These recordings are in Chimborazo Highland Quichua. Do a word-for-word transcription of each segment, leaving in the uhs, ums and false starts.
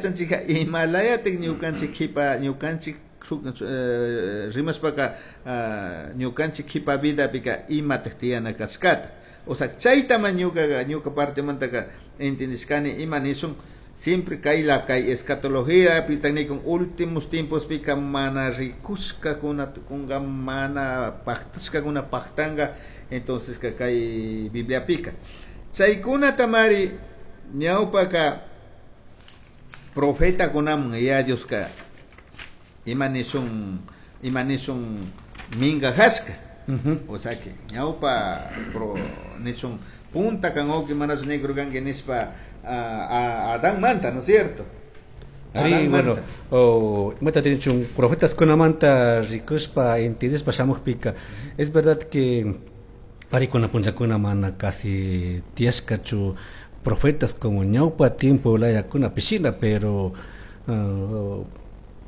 Yachanchika imalayatik ñukanchik kipa ñukanchik eh, rimashpaka ñukanchik kipa vidapika imatak tiyana kashkata. O sea, chaytama ñukaqa ñuka partemantaka entendishkani ima nishun siempre kay la kay escatología pitak nikun últimos tiempos pika mana rikushkakuna tukunka, mana paktashkakuna paktanka. Entonces ka kay Bibliapika chaykunatamari ñawpaka profetakunaman Yaya Dioska ima nishun ima nishun minkajashka. O sea que ñawpa pro nishun punta kan uki manachu negro kanki nishpa a, a Adán manta, ¿no es cierto? Ari, bueno, o imata chun profetas kunamanta rikushpa entendishpa shamukpika, es verdad que parikuna punllakuna mana casi tiyashkachu profetas como ñawpa tiempo layakuna pishina, pero uh,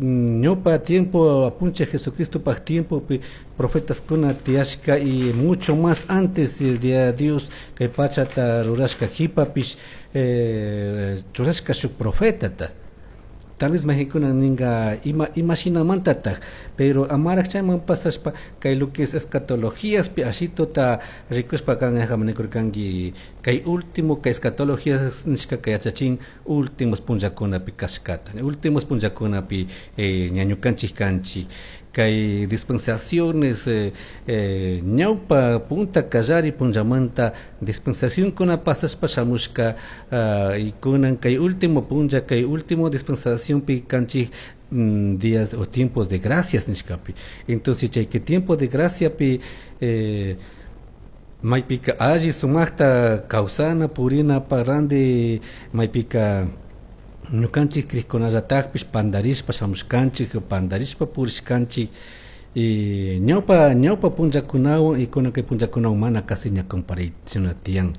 ñawpa tiempo apunche Jesucristo paj tiempo pi profetas kuna tiyashka y mucho más antes de Dios kay pachata rurashka jipapish eh, churashka shuk profetata. Tal vez mayqankuna ninga ima imashinamantataj, pero amaraj chayman pasashpa kay lo que es escatologíaspi ashituta rikushpa kan nikurkanki kay último kay escatologías nishkaka yachachin últimos punllakunapi kashkata, últimos punllakunapi eh, ñañukanchik kanchik kay dispensaciones eh, eh, ñawpa punta kallari punllamanta dispensacionkuna pasashpa shamushka uh, y kunan kay último punlla kay último dispensacionpi kanchik mm, días o tiempos de gracias nishkapi. Entonces chay que tiempo de gracia pi eh, maypika alli sumakta kawsana purina parrandi maypika ñukanchik krikkunallatakpish pandarishpa shamushkanchik, pandarishpa purishkanchik y ñawpa ñawpa punllakunawan y kunan kay punllakunawan mana casi ña comparaychina tiyan.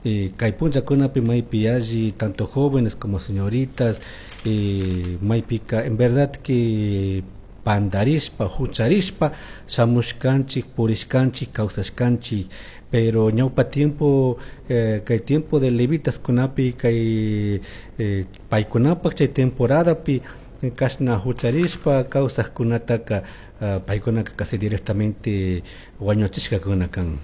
Y kay punllakunapi maypi alli tanto jóvenes como señoritas y maypika en verdad que pandarishpa hucharishpa shamushkanchik, purishkanchik, kawsashkanchik, pero ñawpa tiempo eh, kay tiempo de levitas kunapi kay eh, paykunapak chay temporadapi kashna hucharishpa kawsaqkunataka uh, paykunaka casi directamente wañuchishkakuna kan,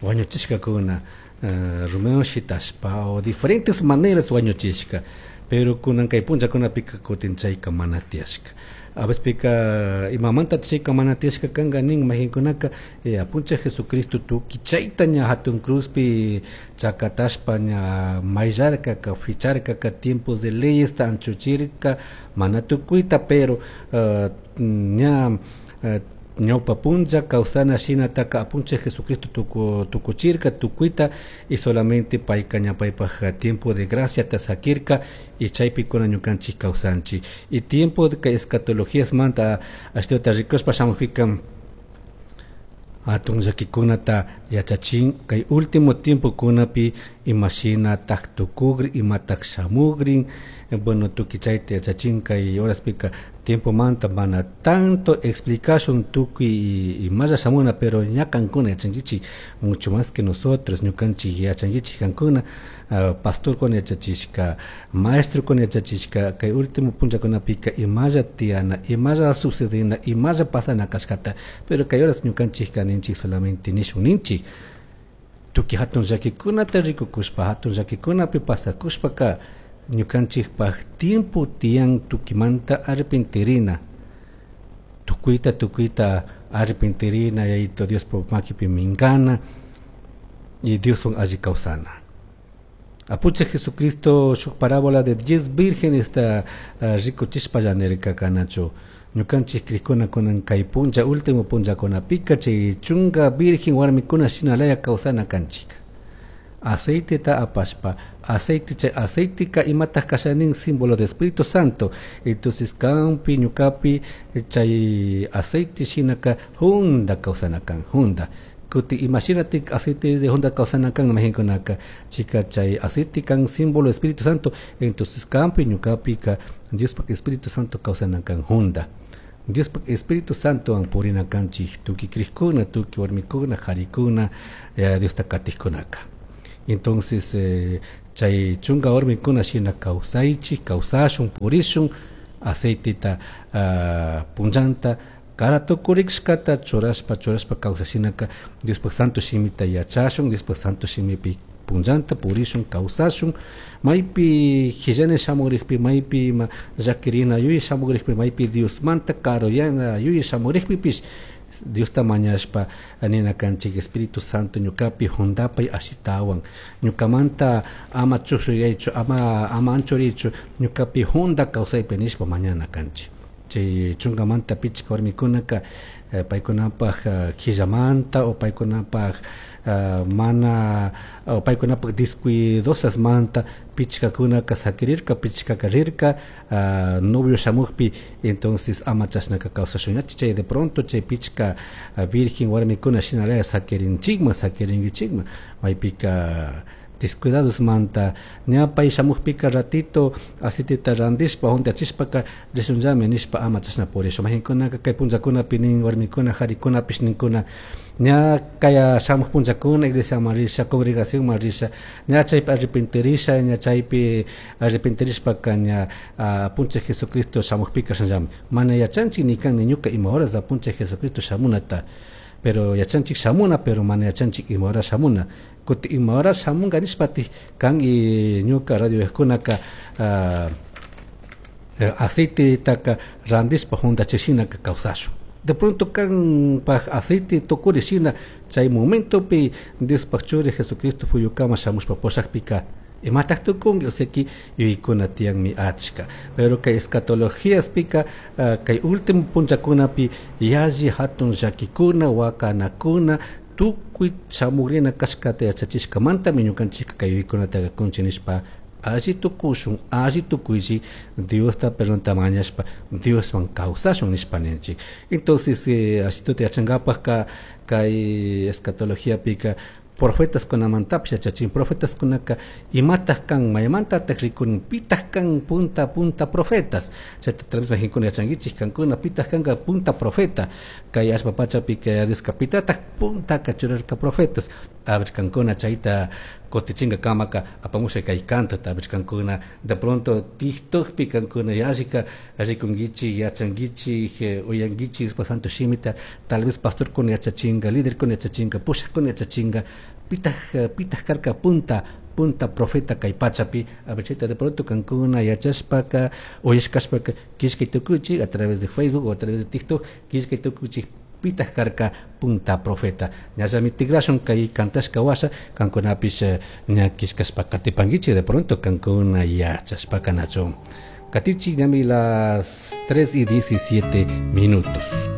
wañuchishkakuna uh, rumiwan shitashpa o diferentes maneras wañuchishka, pero kunan kay punllakunapika kutin chayka mana tiyashka. A veces pika imamanta chayka mana tiyashka kanka nin mayqinkunaka eh, apuncha Jesucristo tukuy chayta ña hatun cruzpi chakatashpa ña mayllarkaka ficharkaka tiempos de leyes ta anchuchirka mana tukuyta, pero uh, ña uh, ñawpa punlla kawsana shinataka apuncha Jesucristo tuku, tukuchirka tukuyta y solamente payka ña paypaj tiempo de gracia ta sakirka y chaypi kuna ñukanchik kawsanchik. Y tiempo de kay escatologías manta ashtawata rikushpa shamukpika hatun llakikunata yachachin kay último tiempo kunapi imashina tak tukugri imatak shamugrin. Bueno, tukuy chayta yachachin kay horaspika tiempo manta mana tanto explicación tukuy imalla shamuna, pero ña kankuna yachankichik mucho más que nosotros ñukanchik yachankichik kankuna uh, pastor kuna yachachishka, maestro kuna yachachishka kay último punllakunapika imalla tiyana, imalla sucedina, imalla pasana kashkata, pero kay horas ñukanchik kaninchik solamente nishun ninchik tukuy hatun llakikunata rikukushpa hatun llakikunapi pasakushpaka ñukanchikpaj tiempo tiyan tukimanta arrepentirina, tukuyta tukuyta arrepentirina Yayito Diospa makipi minkana y Dioswan alli kawsana. Apuche Jesucristo shuk parábola de diez vírgenes ta uh, rikuchishpa llanirka kanachu ñukanchik krikuna kunan kay punlla último punllakunapika chay chunka virgen warmikuna shinalaya kawsana kanchik. Aceite ta apashpa, aceite chay aceitika imataj kashanin símbolo de Espíritu Santo. Entonces kampi ñukapi chay aceite shinaka junda kawsana kan, junda. Kuti imagínate aceite de junda kawsana kan mayqinkunaka chika chay aceite kan símbolo de Espíritu Santo. Entonces kampi ñukapi ka Diospak Espíritu Santo kawsana kan junda. Diospak Espíritu Santo an purina kanchik tukuy krikuna, tukuy warmikuna, qarikuna, eh, Diosta katijkunaka. Entonces, eh, Chay chunka warmikuna shina kawsaychik, kawsashun, purishun, aceiteta uh, punllanta cada tukurishkata churashpa churashpa kawsashinaka Diospaj santo shimita yachashun, Diospaj santo shimipi punllanta purishun, kawsashun, maypi hillani shamurikpi, maypi ima llakirina yuyi shamurikpi, maypi Diosmanta karuyana yuyi shamurikpipish Diosta mañashpa nina kanchik Espíritu Santo ñukapi juntapay ashitawan ñukamanta ama chushuyaychu ama ama anchurichu ñukapi junta kawsaypi nishpa mañana kanchik. Chay chunkamanta pichka warmikunaka eh, paykunapaj uh, quillamanta o paykunapaj uh, mana o paykunapaj descuidosasmanta pichkakunaka sakirirka, pichkaka rirka uh, novio shamukpi, entonces ama chashnaka kawsashunñachi. Chay de pronto chay pichka uh, virgen warmikuna shinalaya sakirinchikman, sakirinkichikman, maypika descuidados manta ña pay shamukpika ratito aceiteta randishpa juntachishpaka rishunllami nishpa ama chashna purishun. Mahinkunaka kay punllakunapi nin warmikuna jarikunapish ninkuna ña kaya shamuj punllakuna iglesiaman risha, congregacionman risha, ña chaypi arrepentirisha, ña chaypi arrepentirishpaka ña uh, puncha Jesucristo shamukpika shanllami. Mana yachanchik ni kan ni ñuka ima horas puncha Jesucristo shamunata, pero yachanchik shamuna, pero mana yachanchik ima hora shamuna. Kuti ima hora shamunga nishpati kan y ñuka radio kunaka uh, aceitetaka randishpa juntachishinaka kawsashun. De pronto kan paj aceite tukuri shina chay momentopi Diospaj churi Jesucristo fuyukama shamushpa pushakpika imataq tukunki, o sea que yuykuna tiyanmi achka. Pero kay escatologíaspika uh, kay último punllakunapi yalli hatun llakikuna wakanakuna tukuy shamugrina kashkata yachachishkamantami ñukanchikka kay yuykunataqa kunchik nishpa alli tukushun, alli tukuyshi Diosta perdonta mañashpa Dioswan kawsashun nishpa ninchik. Entonces eh, ashituta yachankapajka kay escatologiapika profetas kunamantapish yachachin, profetas kunaka imataq kan, maymantataq rikurin, pitaq kan punta punta profetas. Chayta tal vez majinkuna yachankichik kankuna pitaq kanka punta profeta kay allpa pachapi kay Dioska pitataq puntaka churarka profetas. A ver kankuna chayta kutichinka kamaka apamusha kay cantota, a ver kankuna de pronto TikTokpi kankuna yallika rikunkichik, yachankichik, uyankichik Diospa santo shimita, tal vez pastorkuna yachachinka, liderkuna yachachinka, pushakuna yachachinka, pitaq pitaq karka punta punta profeta kay pachapi. A ver chayta de pronto kankuna yachashpaka uyashkashpaka killkay tukuchik a través de Facebook o a través de TikTok, killkay tukuchik pitaq karka punta profeta. Ñallami tigrashun kay kantashka washa kankunapish ña killkashpa katipankichik de pronto kankuna yachashpaka nachu. Katichik ñami las tres y diecisiete minutos.